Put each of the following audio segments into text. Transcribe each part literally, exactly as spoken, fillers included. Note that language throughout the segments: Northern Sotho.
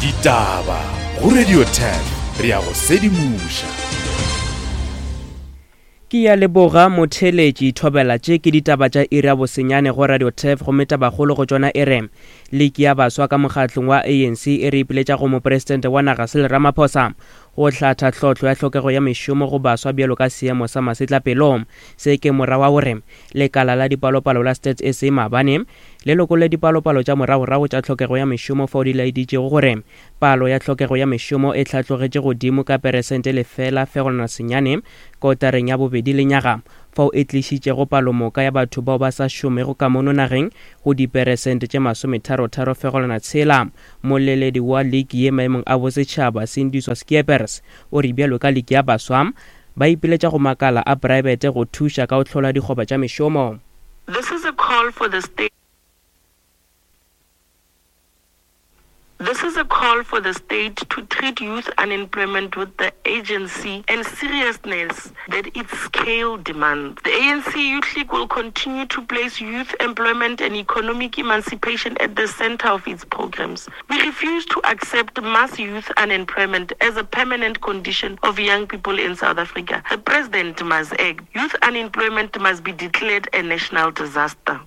Ditaba go Radio Turf, re ya go sedimoša. Ke ya leboga motheletši thobela tše ke ditaba tša iri ya bosenyane go Radio Turf, gomme tabakgolo go tšona e re liki ya baswa ka mokgatlong wa A N C e re ipiletša go mopresidente wa naga Cyril Ramaphosa go hlatha tlhohlo ya tlhokego ya mešomo go baswa bjalo ka seemo sa masetlapelo. Se ke morago wa gore lekala la dipalopalo la Stats S A maabane le lokolle dipalopalo tša moragorago tša tlhokego ya mešomo fao di laeditšego gore palo ya tlhokego ya mešomo e hlatlogetše godimo ka peresente lefela fegelwana senyane kotareng ya bobedi lenyaga, fao e tlišitšego palomoka ya batho bao ba sa šomego ka mono nageng go diperesente tše masometharotharo fegelwana tshela. Moleledi wa liki ye maemong a bosetšhaba Sindiswa Skeepers o re bjalo ka liki ya baswa ba ipiletša go makala a praebete go thuša ka go hlola dikgoba tša mešomo. This is a call for the state. This is a call for the state to treat youth unemployment with the urgency and seriousness that its scale demands. The A N C Youth League will continue to place youth employment and economic emancipation at the center of its programs. We refuse to accept mass youth unemployment as a permanent condition of young people in South Africa. The president must act. Youth unemployment must be declared a national disaster.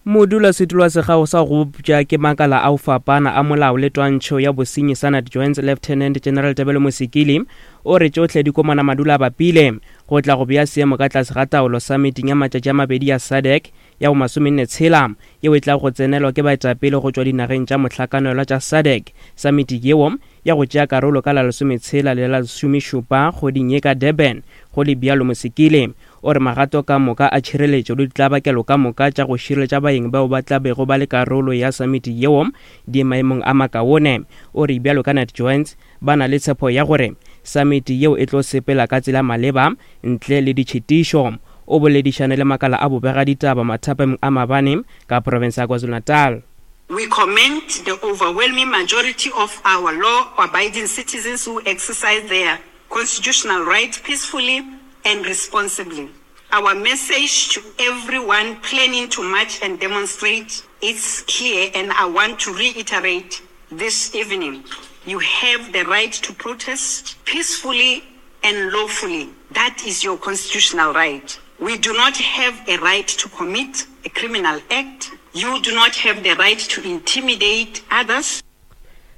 Modulasetulo wa sekgao sa go bopša ke makala a go fapana a molao le twantšho ya bosenyi Senate Joints Lieutenant General Tebello Mosikili o re tšohle di komana madula a bapile go tla go bea seemo ka tlase ga taolo summiting ya matšatši a mabedi ya S A D C ya bo masomenne tshela yeo e tla go tsenelwa ke baetapele go tšwa dinageng tša mohlakanelwa tša S A D C. Summit yeo ya go tšea karolo ka la lesometshela le la lesomešupa kgweding ye ka Durban. Go le bjalo Mosikili o re magato ka moka a tšhireletšo le ditlabakelo ka moka tša go šireletša baeng bao ba tla bego ba le karolo ya summit yeo di maemong a makaone. O re bjalo ka Nat Joints ba na le tshepo ya gore summit yeo e tlo sepela ka tsela maleba ntle le ditšhitišo. O boledišane le makala a bobega ditaba mathapeng a mabane ka province ya KwaZulu-Natal. We commend the overwhelming majority of our law-abiding citizens who exercise their constitutional rights peacefully and responsibly. Our message to everyone planning to march and demonstrate is clear, and I want to reiterate this evening. You have the right to protest peacefully and lawfully. That is your constitutional right. We do not have a right to commit a criminal act. You do not have the right to intimidate others.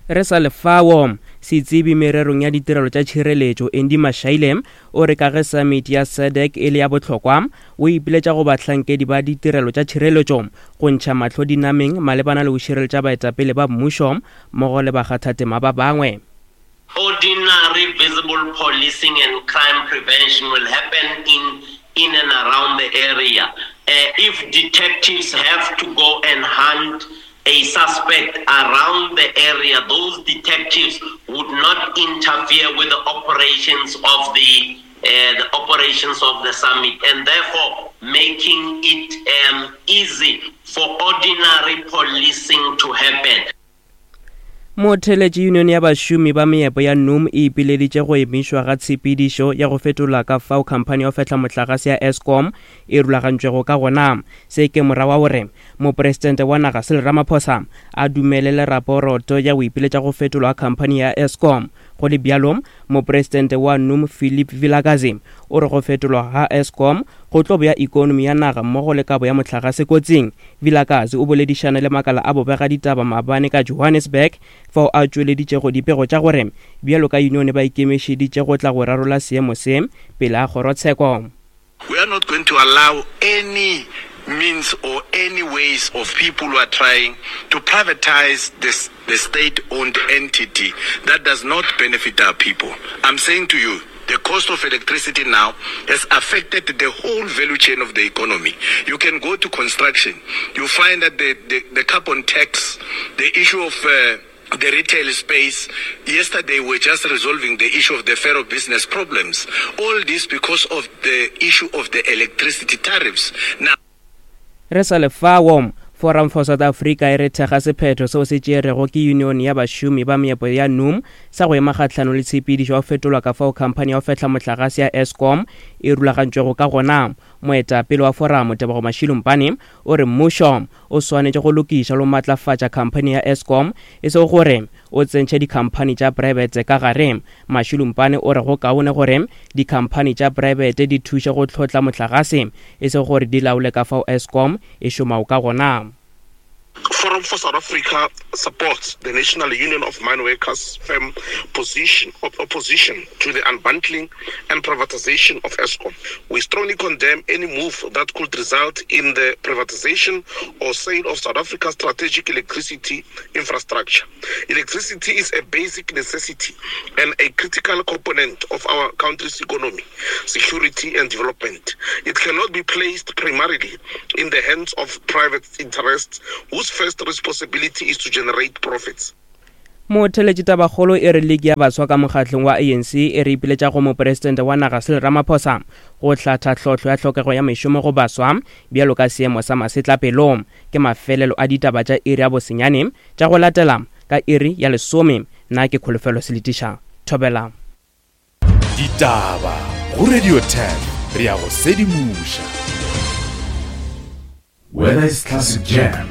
Re sa lefao setsebi mererong ya ditirelo tša tšhireletšo Andy Mashaile o re ka ge summit ya S A D C e le ya bohlokwa o ipiletša go bahlankedi ba ditirelo tša tšhireletšo go ntšha mahlo dinameng malebana le go šireletša baetapele ba mmušo mmogo le bakgathatema ba bangwe. Ordinary visible policing and crime prevention will happen in, in and around the area. Uh, if detectives have to go and hunt a suspect around the area, those detectives would not interfere with the operations of the, uh, the operations of the summit, and therefore making it, um, easy for ordinary policing to happen. Motheletši Union ya bašomi ba meepo ya N U M e ipileditše go emišwa ga tshepedišo ya go fetola ka fao khamphani ya go fehla mohlagase ya Eskom e rulagantšwego ka gona. Se ke morago wa gore mopresidente wa naga Cyril Ramaphosa a dumelele raporoto ya go ipiletša go fetolwa ga khamphani ya Eskom. Go le bjalo, mopresidente wa N U M Philip Vilakazi o re go fetolwa ga Eskom go tlo bea ikonomi ya naga mmogo le kabo ya mohlagase kotsing. Vilakazi o boledišane le makala a bobega ditaba maabane ka Johannesburg fao a tšweleditšego dipego tša gore bjalo ka union ba ikemišeditše go tla go rarolla seemo se pele ga kgorotsheko. We are not going to allow any means or any ways of people who are trying to privatize this, the state-owned entity that does not benefit our people. I'm saying to you, the cost of electricity now has affected the whole value chain of the economy. You can go to construction. You find that the, the, the carbon tax, the issue of, uh, the retail space. Yesterday, we were just resolving the issue of the ferro business problems. All this because of the issue of the electricity tariffs. Now, re sa lefao Forum for South Africa e re thekga sephetho seo se tšerego ke Union ya Bašomi ba Meepo ya NUM sa go ema kgahlanong le tshepedišo ya go fetolwa ka fao khamphani ya go fehla mohlagase ya Eskom e rulagantšwego ka gona. Moetapele wa foramo Tebogo Mashilumpane o re mmušo o swanetše go lokiša le go matlafatša khamphani ya Eskom e sego gore o tsentšhe dikhamphani tša praebete ka gare. Mashilumpane o re go kaone gore dikhamphani tša praebete di thuše go hlotla mohlagase e sego gore di laole ka fao Eskom e šomago ka gona. Forum for South Africa supports the National Union of Mine Workers firm position, opposition to the unbundling and privatization of Eskom. We strongly condemn any move that could result in the privatization or sale of South Africa's strategic electricity infrastructure. Electricity is a basic necessity and a critical component of our country's economy, security and development. It cannot be placed primarily in the hands of private interests whose first responsibility is to generate profits. Motheletši tabakgolo e re ligi ya baswa ka mokgatlong wa A N C e re ipiletša go mopresidente wa naga Cyril Ramaphosa go hlatha tlhohlo ya tlhokego ya mešomo go baswa bjalo ka seemo sa masetlapelo. Ke mafelelo a ditaba tša iri ya bosenyane tša go latela ka iri ya lesome. Nna ke Kholofelo Seletiša. Thobela. Ditaba go Radio ten re ya go sedimoša. Whether it's classic jam,